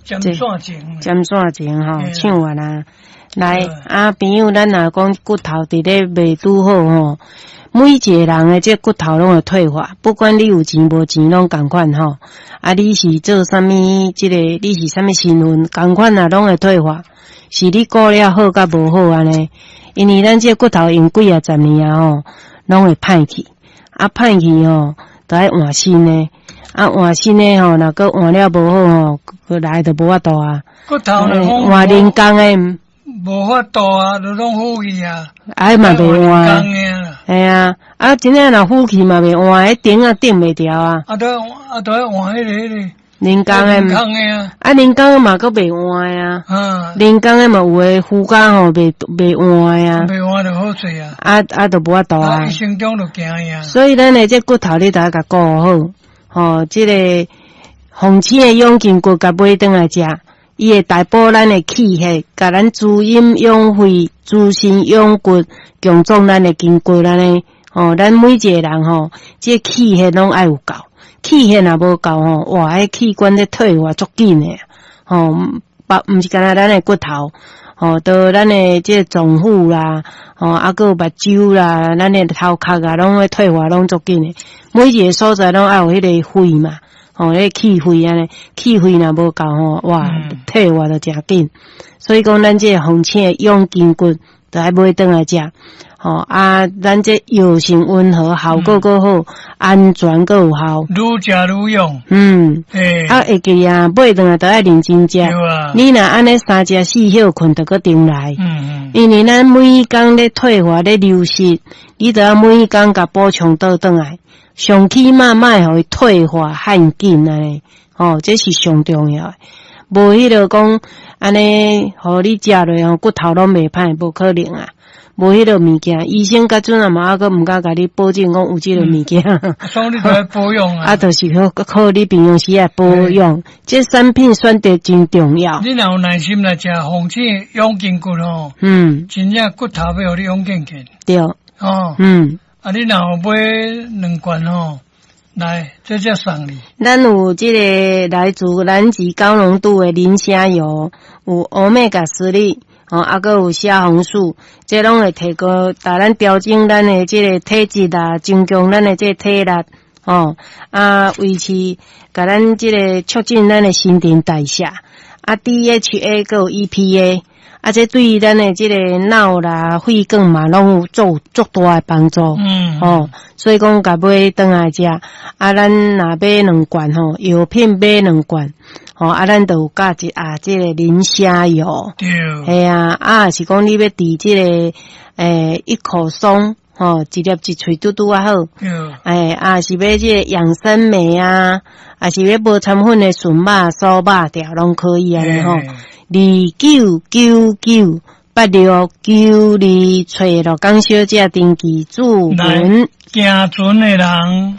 占線前。占線前吼，唱完啊。來，啊，朋友，咱若講骨頭佇咧袂拄好吼，每一個人的這骨頭攏會退化，不管你有錢無錢，攏仝款吼。啊，你是做啥物？這個你是啥物身份？仝款啊，攏會退化。是你顧了好佮無好按呢？因為咱這骨頭用幾仔十年啊吼，攏會歹去。啊，歹去吼，著愛換新的。啊，換新的吼，若閣換了無好吼，閣來就無法度啊。骨頭換人工的。無法度啊，就攏腐去啊。哎嘛袂換。系啊，啊，真正若腐去嘛袂換，彼頂啊頂袂牢啊。啊，著啊，著愛換彼個。人工的。人工的啊。啊，人工的嘛閣袂換啊。人工的嘛有的附加吼，袂換啊。袂換就好勢啊。啊啊，就無法度啊。一生中就行啊。所以咱的這骨頭你著愛共顧好，吼，這個鳳青的養筋骨共買轉來食。伊會大補咱的氣血，共咱滋陰養肺、滋身養骨、強壯咱的筋骨按呢。吼，咱每一個人吼，這氣血攏愛有夠，氣血若無夠吼，哇，彼器官咧退化足緊的，吼，毋是干焦咱的骨頭，吼，到咱的這個臟腑啦，吼，啊，閣有目睭啦，咱的頭殼啊，攏會退化，攏足緊的。每一個所在攏愛有彼個血嘛。吼，彼氣血按呢，氣血若無夠吼，哇，退化就誠緊。所以講，咱這個鳳青的養筋骨，著愛買轉來食。吼啊，咱這藥性溫和，效果閣好，安全閣有效。愈食愈勇。啊，會記啊，買轉來著愛認真食。你若按呢三食四歇睏，著閣重來。因為咱每工咧退化咧流失，你著愛每工共補充倒轉來。上起碼莫予伊退化遐緊按呢，吼，這是上重要的。無彼個講按呢，予你食落吼，骨頭攏袂歹，無可能啊。無彼個物件，醫生到陣啊嘛，猶閣毋敢共你保證講有這個物件。所以你著愛保養啊。啊，就是靠靠你平常時來保養，這產品選擇真重要。你若有耐心來食鳳青養筋骨吼，真正骨頭欲予你養健健。對。哦。啊，你若有買兩罐吼，來，這才送你。咱有這個來自南極高濃度的磷蝦油，有歐米伽3，吼，啊，閣有蝦紅素，這攏會提高，共咱調整咱的這個體質啊，增強咱的這個體力，吼，啊，維持，共咱這個促進咱的新陳代謝，啊，DHA 閣有 EPA。啊，這對於咱的這個腦啦、血管嘛，攏有做足大的幫助。吼，所以講，共買轉來食，啊，咱若買兩罐吼，藥品買兩罐，吼，啊，咱就有加一盒這個磷蝦油。系啊，啊，是講你欲佇這個，一口鬆，吼，一粒一喙拄拄仔好。欸，啊，是欲這個養生酶啊，啊是欲無摻粉的純肉、酥肉條攏可以按呢吼。29998692，揣鹿港小姐登記注文。行船的人。